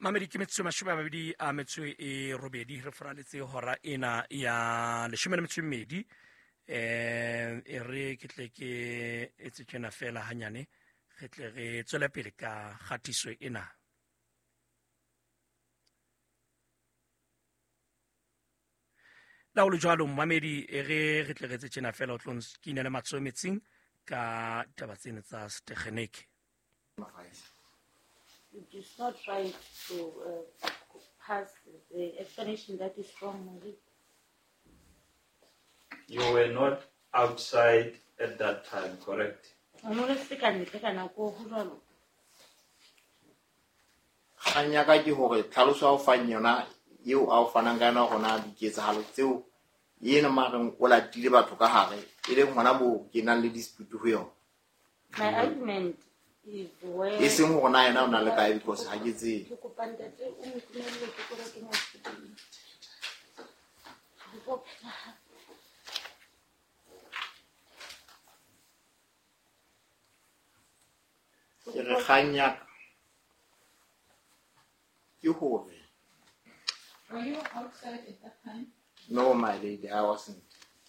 Mamedi, ke metsotso 28 re foraletse hora ena ya 12. E re ke tle ke etse tjena fela hanyane, re tle re tswele pele ka kgatiso ena. La ho le jwalo, mmamedi, e re re tle re etse tjena fela, o tlo nkinele matsoho metsing ka taba tsena tsa setekgeneke. It is not right to pass the explanation that is wrong, Mary. You were not outside at that time, correct? O no le se ka ntle ka nako, ho jwalo? Kgang ya ka ke hore tlhaloso ya o fang yona eo a o fanang ka yona, hore na diketsahalo tseo ena mareng o latile batho ka hare, e leng hona moo ke nang le dispute ho yona. My argument is where E seng hore na yena o na le kae, because ha ke tsebe. Ke kopa ntate o ntumelle ke tlo kenya setene. Ke tlo phela hape. Ke re kgang ya ka ke hore Were you outside at that time? No, my lady, I wasn't.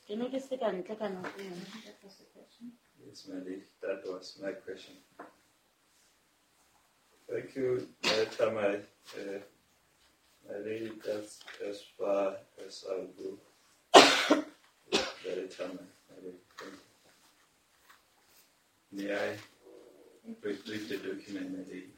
Ke ne ke se ka ntle ka nako eo. That was the question. Yes, my lady, that was my question. Thank you, Tamai. My lady, that's as far as I'll go. Very Tamai, my lady. Thank you. May I retrieve the document, my lady?